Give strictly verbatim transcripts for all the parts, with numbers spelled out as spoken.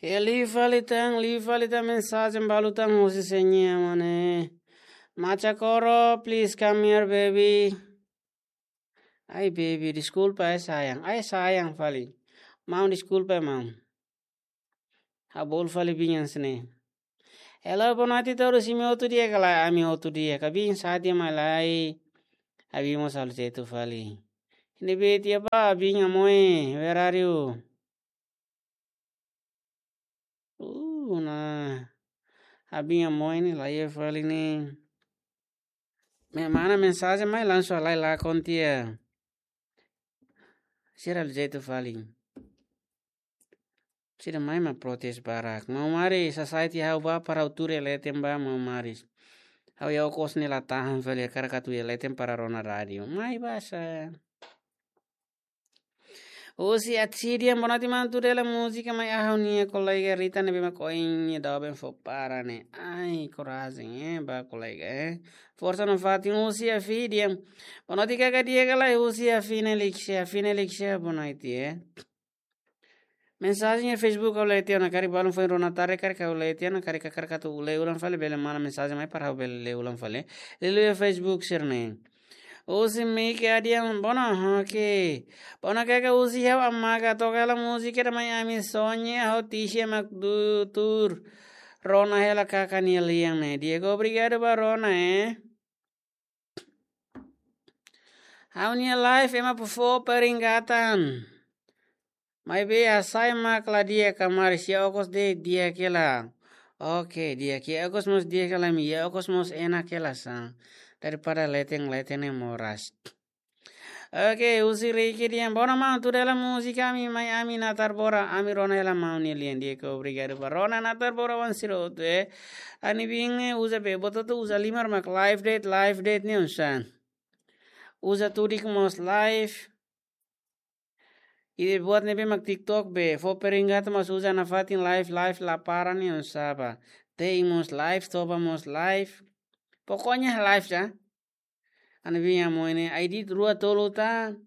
Liu fali tan, liu fali tan mensajen balu tan husi Seña mane. Macha Koro, please come here, baby. Ai, baby, deskulpa, ai, sayang. Ai, sayang fali. Maun, deskulpa, maun. Ha'u bolu fali biin hanesan ne'e. Hello, boa noite, todos. Imi hotu di'ak ka lae? Ami hotu di'ak. Biin sa'e tiha mai lai. Biin mós halo jeitu fali. Ne'ebé tiha ba, biin Amoy, where are you? Uh, nah. Biin Amoy ne'e, la iha fali ne'e. Mak mana mensajen mai langsung halai lakon tiha. Sira halo jeitu fali. Sira mai mak protes barak. Maun Maris, sasai tiha ha'u ba para ha'u tuur iha leten ba, maun Maris. Ha'u iha okos ne'e la tahan fali, hakarak atu iha leten para rona rádiu. Mai basa. Husi Atsidian, boa noite, maun, tuur hela múzika mai ha'u-nia kolega Rita ne'ebé mak ohin nia doben fó para ne'e. Ai, korajen, eh, ba kolega, eh. Forsa nafatin. Husi Afidian. Boa noite, kaka, di'ak ka lae? Husi Afina Lixia, Afina Lixia, boa noite, eh. Mensajen iha Facebook ha'u lee tiha ona, karik balun foin rona tarde, karik ha'u lee tiha ona, karik hakarak atu lee ulang fali, bele mana mensajen mai para ha'u bele lee ulang fali. Liuliu iha Facebook sira-ne'e. Husi Miki Adian, bona, oke. Bona kaka, husi ha'u Amaga, toka hela múzika ida mai Ami Sonhe, ha'u tisi ema atu tuur rona hela kaka nia lian ne'e. Di'ak, obrigadu ba rona, eh. Ha'u-nia live ema atu fó peringatan. Maibé hasai mak la di'ak, Kamaris, iha okos de'it di'ak hela. Oke, di'ak, iha okos mós di'ak hela, imi iha okos mós enak hela sá. Daripada leten-leten ne'e moras. Oke, husi Riki Dian, bona maun, tuur hela múzika Ami, mai Ami natar bora, Ami rona hela maun nia lian, di'ak, obrigadu ba rona, natar bora wan sira hotu, eh. Ha'u-nia biin ne'e uza be, buat hotu uza, liman mak live de'it, live de'it ne'e oinsá. Uza tudik mós live. Ida buat ne'ebé mak TikTok be, fó peringatan mós uza nafatin, live, live la para ne'e oinsá ba. Te'in mós live, toba mós live. Pokoknya live sá. Ha'u-nia biin Amoy ne'e, ID rua tolu tan.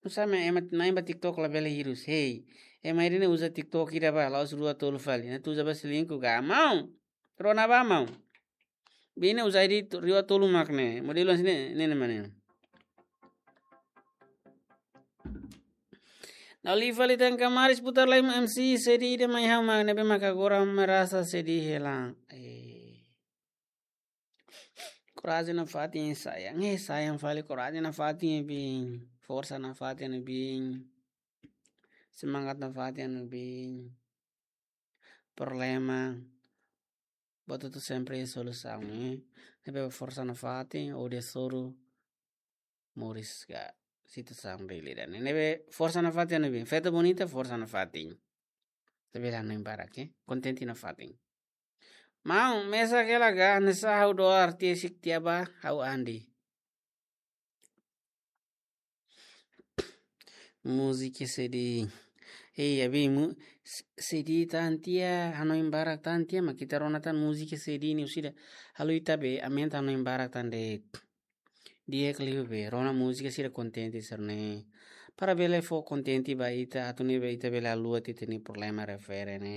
Oinsá mak ema na'in ba TikTok labele hirus. Hei, ema ID ne'e uza TikTok ida ba, la'ós rua tolu fali. Ne'e atu uza ba selingkuh ka? Maun. Rona ba maun. Biin ne'e uza ID tu-, rua tolu mak ne'e. Modelu hanesan ne'e, ne'e, ne'e mak ne'e. Ha'u liu fali tan, Kamaris, putar lai M C, sedih ida mai ha'u mak ne'ebé mak agora merasa sedih hela. Eh. Korajen nafatin, sayang. Eh, sayang fali, korajen nafatin, biin. Forsa nafatin, biin. Semangat nafatin, biin. Problema. Buat hotu sempre iha solusaun, eh. Ne'ebé forsa nafatin, hodi hasoru moris ka situasaun realidade. Ne'ebé forsa nafatin, biin. Feto bonita, forsa nafatin. Tapi la nem para ke. Kontente nafatin. Maun, mesak hela ka, hanesan ha'u doar tiha sik tiha ba, ha'u Andi. Múzika sedih. Hei, abi, mu-, s-, sedih tan tiha, hanoin barak tan tiha, mak ita rona tan múzika sedih ne'e, orsida halo ita be, aumenta hanoin barak tan de'it. Di'ak liu be, rona múzika sira kontente sira-ne'e. Para bele fó kontente ba ita, atu nune'e be ita bele haluha tiha ita-nia problema refere ne'e.